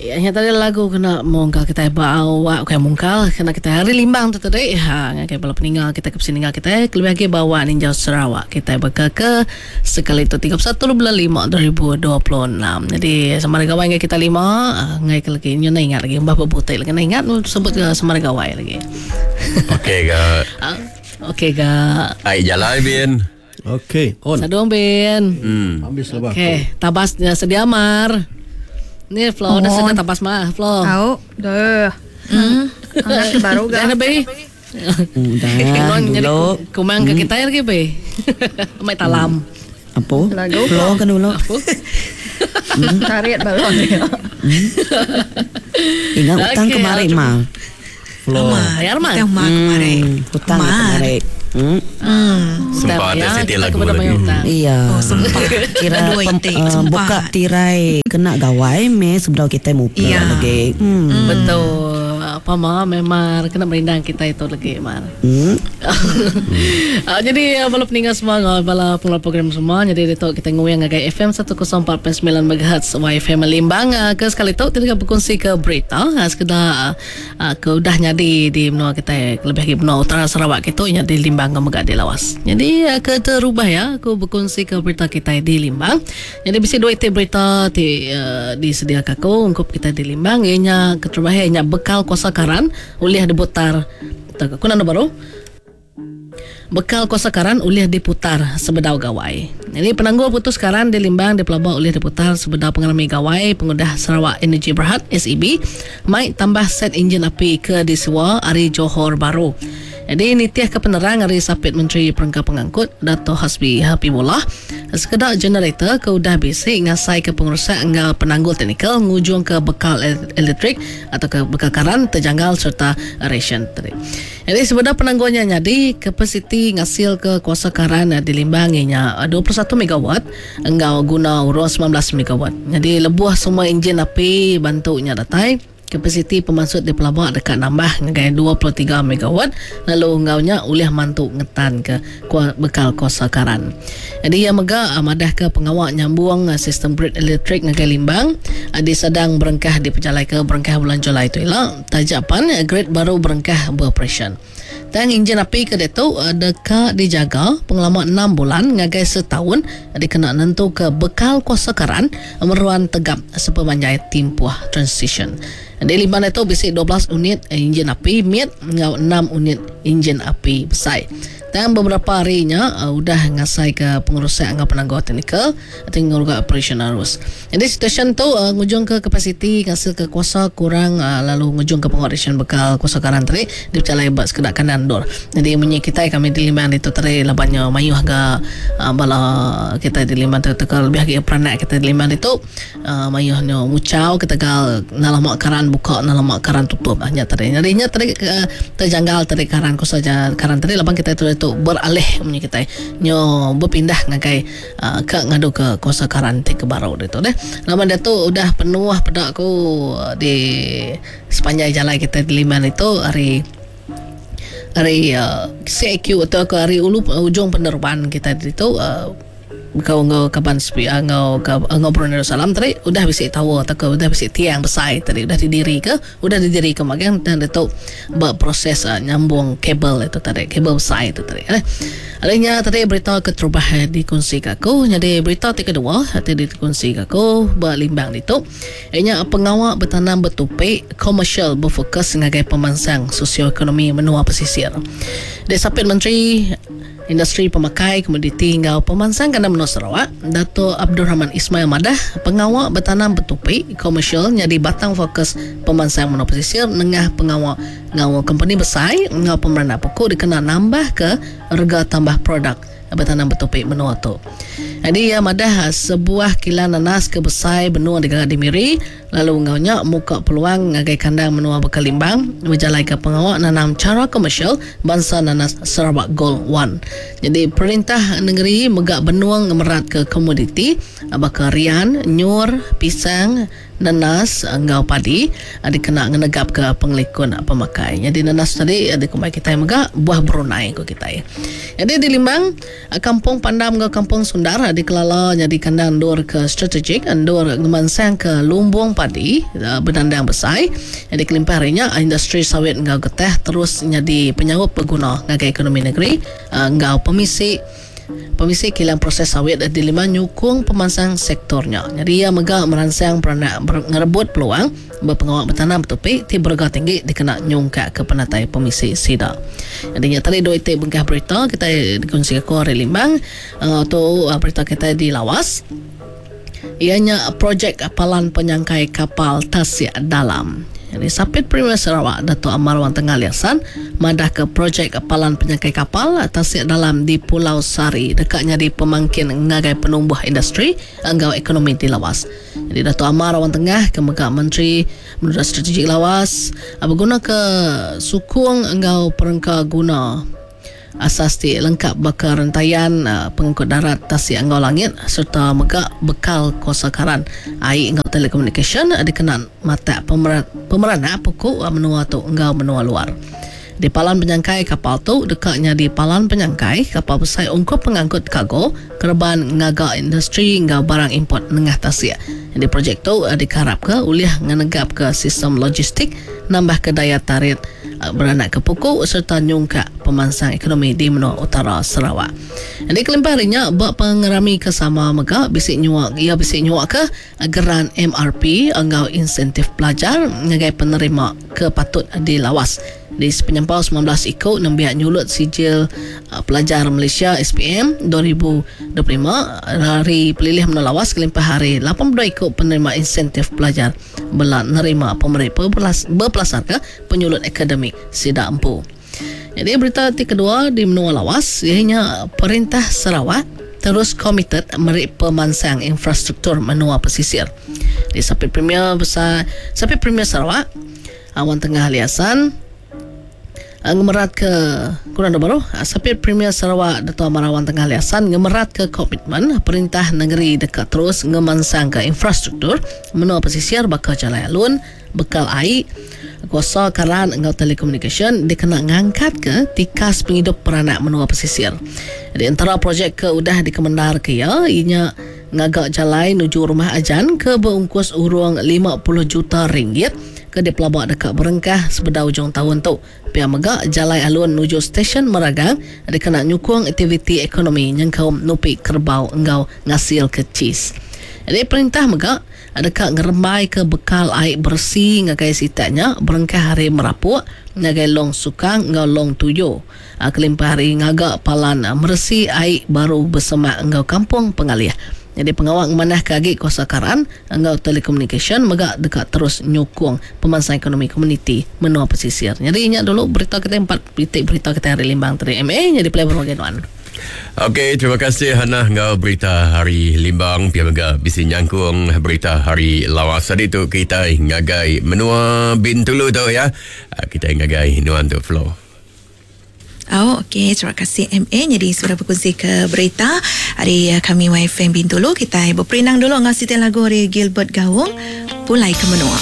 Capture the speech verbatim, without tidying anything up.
Ya, nya tadi lagu kena mungkal kita ba awak bukan mungkal kena kita hari limbang tu tadi ha ngagai bala peninga kita ke peninga kita kelebih lagi bawa ninjau Sarawak kita beka ke sekali tu tiga puluh satu bulan lima dua ribu dua puluh enam. Jadi sama gawai ngai kita lima ngai ke lagi nyu ingat lagi mbah bebutik lagi ingat sebut ke sama gawai lagi. Okey ga. Okey ga. Ai jalai bin. Okey, on. Sadung bin. Hmm. Habis lebah. Okey, tabas sedia mar. Ni Flo, dah sedang tabas mah, Flo. Tahu, dah. Hmm. Anak baru ga. Dah be. Udah. Dulu. Kumang ke kita lagi be. Mai talam. Apa? Lagu Flo kan dulu. Apa? Tarik balon dia. Ingat utang Okey, kemarin mah. Flo. Bayar mah. Utang mah kemarin. Hutang kemarin. Hmm. Hmm. Sempat ada Ya, siti kita lagu kepada lagi. bayar hutang. Iya. Oh, sempat. Kira Dua pem, itik, uh, sempat. buka tirai kena gawai me sebelum kita muka Iya. lagi. Hmm. Hmm. Betul. Apa mah memang kena merindang kita itu lagi mar. Hmm. Uh, jadi bala peninggal semua bala pengelola program semua jadi itu kita nguyang ngagai F M seratus empat perpuluhan sembilan megahertz Y F M Limbang uh, ke sekali tu kita berkongsi ke berita uh, sekedar uh, ke udah nyadi di menua kita lebih lagi menua utara Sarawak kita nya di Limbang ke megak di Lawas. Jadi uh, ke terubah ya aku berkongsi ke berita kita di Limbang. Jadi bisi dua itik berita ti uh, disediakan aku untuk kita di Limbang ianya keterubah ianya bekal kuasa karan ulih diputar. Aku nak baru. Bekal kuasa karan ulih diputar sebedau gawai. Jadi penanggul putus karan di Limbang di Pelabak ulih diputar sebedau pengalami gawai pengudah Sarawak Energy Berhad S E B mai tambah set enjin api ke disiwa ari Johor Bahru. Jadi ini tiah ke penerang ari Sapit Menteri Perengka Pengangkut Dato' Hasbi Habibullah sekedar generator ke udah bisik ngasai ke pengurusan enggal penanggul teknikal ngujung ke bekal elektrik atau ke bekal karan terjanggal serta ration tadi. Jadi sebenarnya penanggulnya jadi kapasiti ngasil ke kuasa karan di Limbang ianya dua puluh satu megawatt enggal guna urus sembilan belas megawatt. Jadi lebuh semua enjin api bantunya datai kapasiti pemansut di Pelabak dekat nambah ngagai dua puluh tiga megawatt lalu enggaunya ulih mantu ngetan ke bekal kuasa karan. Jadi ia mega madah ke pengawak nyambung sistem grid elektrik ngagai Limbang di sedang berengkah di pejalai ke berengkah bulan Julai itu ialah tajapan grid baru berengkah beroperasi. Dan enjin api ke detu dekat dijaga pengalaman enam bulan ngagai setahun dikena nentu ke bekal kuasa karan meruan tegap sepemanjai timpuh transition. Di Limbang itu bisi dua belas unit enjin api mid ngau enam unit enjin api besar. Dan beberapa harinya uh, udah ngasai ke pengurusan angga penangguh teknikal atau ngurga operation arus. Jadi situasi tu uh, ngujung ke kapasiti ngasil ke kuasa kurang uh, lalu ngujung ke pengoperasian bekal kuasa karan tadi dipercalai buat sekedak kanan dor. Jadi munyi kita kami di Limbang itu tadi labannya mayuh ga uh, bala kita di Limbang tu tekal lebih lagi peranak kita di Limbang itu uh, mayuhnya mucau ketegal nalamak karan buka nalamak karan tutup hanya tadi. Jadi nya tadi uh, terjanggal tadi karan kuasa karan tadi laban kita itu tu beralih punya kita nyo berpindah ngagai uh, ke ngadu ke kuasa karantin ke baru itu deh. Lama dia tu udah penuh pada aku di sepanjang jalan kita di Liman itu hari hari uh, C Q atau ke hari ulu ujung penerbangan kita itu uh, kau ngau kaban sepi ngau ngau Brunei Darussalam tadi udah bisa tahu atau ke udah bisa tiang besar tadi udah didiri ke udah didiri ke magang dan itu berproses uh, nyambung kabel itu tadi kabel besar itu tadi eh. Adanya tadi berita keterubah dikongsi ke aku jadi berita ti kedua tadi dikongsi ke aku berlimbang itu ianya pengawak bertanam bertupik komersial berfokus sebagai pemansang sosioekonomi menua pesisir. Desapit Menteri Industri Pemakai Komoditi Ngau Pemansang Kandang Menua Sarawak Dato' Abdul Rahman Ismail Madah pengawak bertanam bertupik komersial jadi batang fokus pemansang menua pesisir nengah pengawak ngau company besar ngau pemeranak pokok dikena nambah ke harga tambah produk bertanam bertopik menua tu. Jadi ya madah sebuah kilang nanas ke besai benua di di Miri lalu ngaunya muka peluang ngagai kandang menua Bekalimbang berjalai ke pengawak nanam cara komersial bangsa nanas Sarawak Gold One. Jadi perintah negeri megak benuang ngemerat ke komoditi bakal rian, nyur, pisang, nanas enggau padi dikena ngenegap ke pengelikun pemakai. Jadi nanas tadi ada kumai kita mega buah Brunei ko kita. Jadi di Limbang Kampung Pandam enggau Kampung Sundar dikelala jadi kandang dor ke strategik andor ngemansang ke lumbung padi uh, bedandang besai. Jadi kelimpah hari nya industri sawit enggau getah terus jadi penyaup berguna ngagai ekonomi negeri uh, enggau pemisi Pemisi kilang proses sawit di lima nyukung pemansang sektornya. Jadi ia mega merangsang peranak ngerebut peluang berpengawal bertanam bertupi ti berega tinggi dikena nyungkak ke penatai pemisi sida. Jadi nya tadi dua itik bengkah berita kita dikongsi aku hari Limbang uh, tu uh, berita kita di Lawas. Ianya projek palan penyangkai kapal Tasik Dalam. Jadi Sapit Premier Sarawak Datuk Amar Awang Tengah Ali Hasan madah ke projek palan penyangkai kapal Tasik Dalam di Pulau Sari dekatnya di pemangkin ngagai penumbuh industri enggau ekonomi di Lawas. Jadi Datuk Amar Awang Tengah ke mega Menteri Menurut Strategik Lawas berguna ke sukung enggau perengka guna asas ti lengkap bakal rentayan uh, pengangkut darat tasik enggau langit serta mega bekal kuasa karan air enggau telekomunikasi dikena mata pemeran pemeranak pokok menua tu enggau menua luar. Di palan penyangkai kapal tu dekatnya di palan penyangkai kapal besar ungkup pengangkut kargo kerban ngaga industri enggau barang import nengah tasik. Di projek tu diharap ke ulih ngenegap ke sistem logistik nambah ke daya tarik beranak ke pokok serta nyungkak pemansang ekonomi di menua utara Sarawak. Jadi kelimpah harinya bak pengerami kesama mega bisik nyuak ia bisik nyuak ke geran M R P enggau insentif pelajar ngagai penerima ke patut di Lawas. Di penyampau sembilan belas ikut nembiak nyulut sijil uh, pelajar Malaysia S P M dua ribu dua puluh lima hari pelilih menua Lawas kelimpah hari lapan puluh dua ikut penerima insentif pelajar bela nerima pemeri berpelasar ke penyulut akademik Sida Empu. Jadi berita ti kedua di menua Lawas ianya Perintah Sarawak terus komited meri pemansang infrastruktur menua pesisir. Di Sapit Premier besar Sapit Premier Sarawak Awang Tengah Ali Hasan ngemerat ke kurang baru Sapit Premier Sarawak Datuk Amar Awang Tengah Ali Hasan ngemerat ke komitmen perintah negeri dekat terus ngemansang ke infrastruktur menua pesisir bakal jalan alun bekal air kuasa karan enggau telekomunikasi dikena ngangkat ke tikas penghidup peranak menua pesisir. Di antara projek ke udah dikemendar ke ya ianya ngagak jalan menuju rumah ajan ke berungkus urung lima puluh juta ringgit ke dipelabak dekat berengkah sebeda ujung tahun tu. Pihak mega jalan alun menuju stesen Meragang dikena nyukung aktiviti ekonomi nyengkaum nupi kerbau enggau ngasil ke cheese. Jadi perintah mega dekat ngerembai ke bekal air bersih ngagai sitaknya berengkah hari merapuk ngagai Long Sukang enggau Long Tuyo. Kelimpah hari ngagak palan meresi air baru bersemak enggau kampung pengalih. Jadi pengawal ngemanah ke agi kuasa karan enggau telekomunikasi mega dekat terus nyukung pemansang ekonomi komuniti menua pesisir. Jadi ingat dulu berita kita empat titik berita kita hari Limbang tadi M A jadi play bagian wan. Okey, terima kasih Hana enggau berita hari Limbang pia mega bisi nyangkung berita hari Lawas tadi tu kita ngagai menua Bintulu tu ya. Kita ngagai nuan tu flow. Oh, okey, terima kasih M A. Jadi sudah berkongsi ke berita hari kami Y F M Bintulu. Kita berperinang dulu dengan siti lagu hari Gilbert Gaung, Pulai ke Menua.